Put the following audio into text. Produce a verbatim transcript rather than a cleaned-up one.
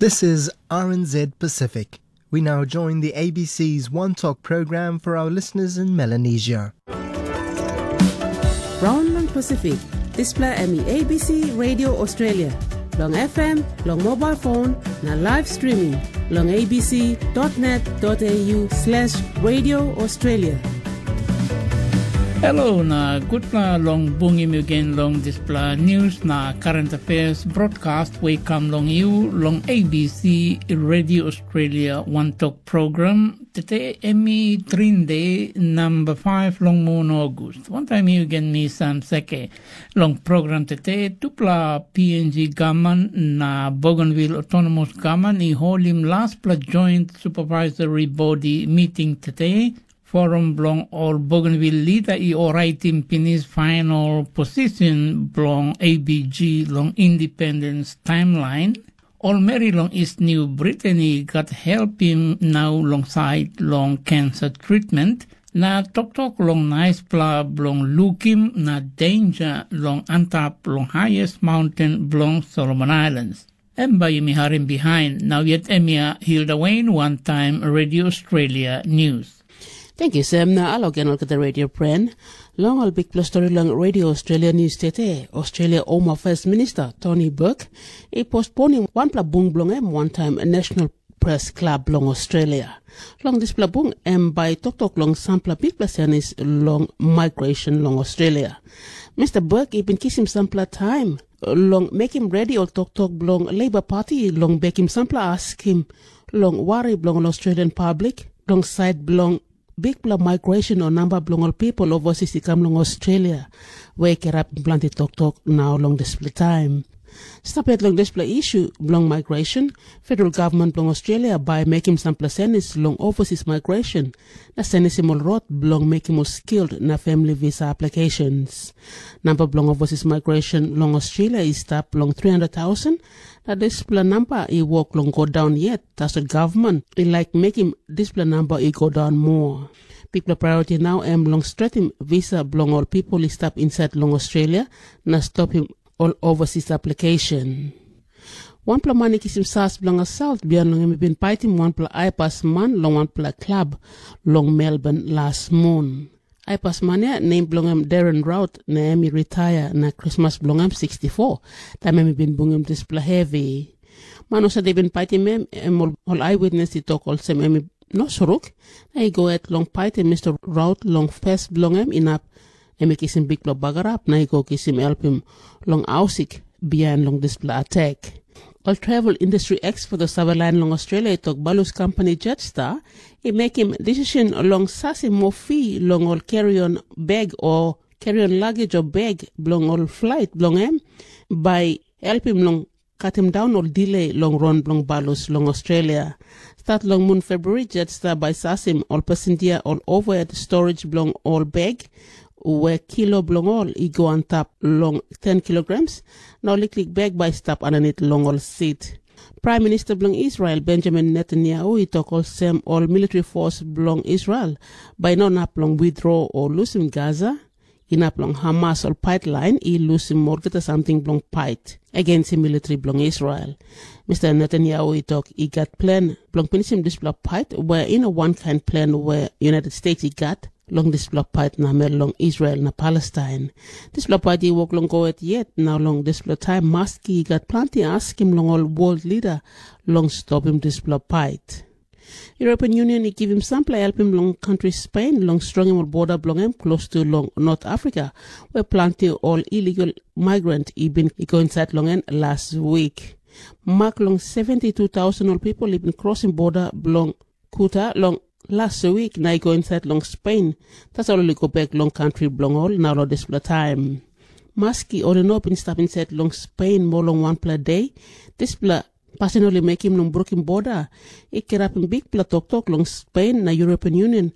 This is R N Z Pacific. We now join the A B C's One Talk program for our listeners in Melanesia. Raun long Pasifik, dispela em i A B C Radio Australia, long F M, long mobile phone, na live streaming long A B C dot net dot A U slash Radio Australia. Hello na gutpela long bungim yu gen long dispela news na current affairs broadcast we kam long yu long A B C Radio Australia One Talk program. Tete em i Trinde number five long mun August. Wantaim yu gen mi Sam Seke. Long program tete, tupela P N G gaman na Bougainville Autonomous Gaman i holim laspela joint supervisory body meeting tete. Forum bilong ol Bougainville lida i oraitim pinis final posisin bilong A B G long independence timeline. Ol meri long East New Britain i gat helpim nau long sait long cancer treatment, na toktok long naispela bilong lukim na denja long antap long highest mountain bilong Solomon Islands. Em bai yumi harim bihain, nau yet em ya Hilda Wayne, one time Radio Australia News. Thank you, Sam. Na alo gen olgeta radio pren. Long ol bikpela stori long Radio Australia News tete, Australia Home Affairs Minister Tony Burke i postponim wanpela bung bilong em wantaim National Press Club long Australia. Long dispela bung em bai toktok long sampela bikpela senis long migration long Australia. Mr. Burke i bin kisim sampela taim long mekim redi ol toktok bilong Labour Party long bekim sampela askim long wari bilong ol Australian public long sait bilong bikpela migration o namba bilong ol pipel oversis i kam long Australia, we i kirapim planti toktok nau long dispela taim. Stap yet long dispela isu bilong migration, federal gavman bilong Australia bai mekim sampela senis long oversis migration na senisim ol rot bilong mekim ol skilled na family visa applications. Namba bilong oversis migration long Australia i stap long three hundred thousand, na dispela namba i wok long go daun yet, tasol gavman i laik mekim dispela namba i go daun moa. Bikpela priority nau em long stretim visa bilong ol pipel i stap insait long Australia na stopim ol oversis application. Wanpela man i kisim sas bilong assault bihain long em i bin paitim wanpela aipas man long wanpela klab long Melbourne las mun. Aipas man ya nem bilong em Darren Rout na em i retire na krismas bilong em sixty-four, taim em i bin bungim dispela hevi. Man husat i bin paitim em, em ol, ol aiwitnes i tok olsem em i no soruk, na i go het long paitim Mr. Rout long fes bilong em inap em i kisim bikpela bagarap na i go kisim helpim long ausik bihain long dispela atak. Ol travel industry expert o save lain long Australia i tok balus kampani Jetstar i mekim decision long sasim moa fi long ol kerion bag o kerion luggage o bag bilong ol flight bilong em bai helpim long katim daun ol delay long ron bilong balus long Australia. Stat long mun Februari, Jetstar bai sasim ol pasindia ol overhead storage bilong ol bag, we kilo bilong ol i go antap long ten kilograms, na ol liklik bag bai i stap aninit long ol sit. Praim Minista bilong Israel, Benjamin Netanyahu, i tok olsem ol militri fos bilong Israel bai i no inap long withdraw o lusim Gaza, inap long Hamas ol paitlain i lusim olgeta samting bilong pait agensim militri bilong Israel. Mr. Netanyahu i tok i gat plen bilong pinisim dispela pait, we i no wankain plen we United States i gat long dispela pait namel long Israel na Palestain. Dispela pait i wok long go het yet, na long dispela taim maski i gat planti askim long ol world leader long stopim dispela pait. European Union i givim sampela helpim long kantri Spain long strongim ol border bilong em klostu long North Africa, where planti ol illegal migrant i bin i go insait long en las wik. Mak long seventy two thousand ol pipel i bin krosim border bilong Kuta long las wik na i go insait long Spain, tasol ol i go bek long kantri bilong ol na long dispela taim. Maski ol i no bin stap insait long Spain moa long wanpela de, dispela pasin ol i mekim long brukim border i kirapim bikpela toktok long Spain na European Union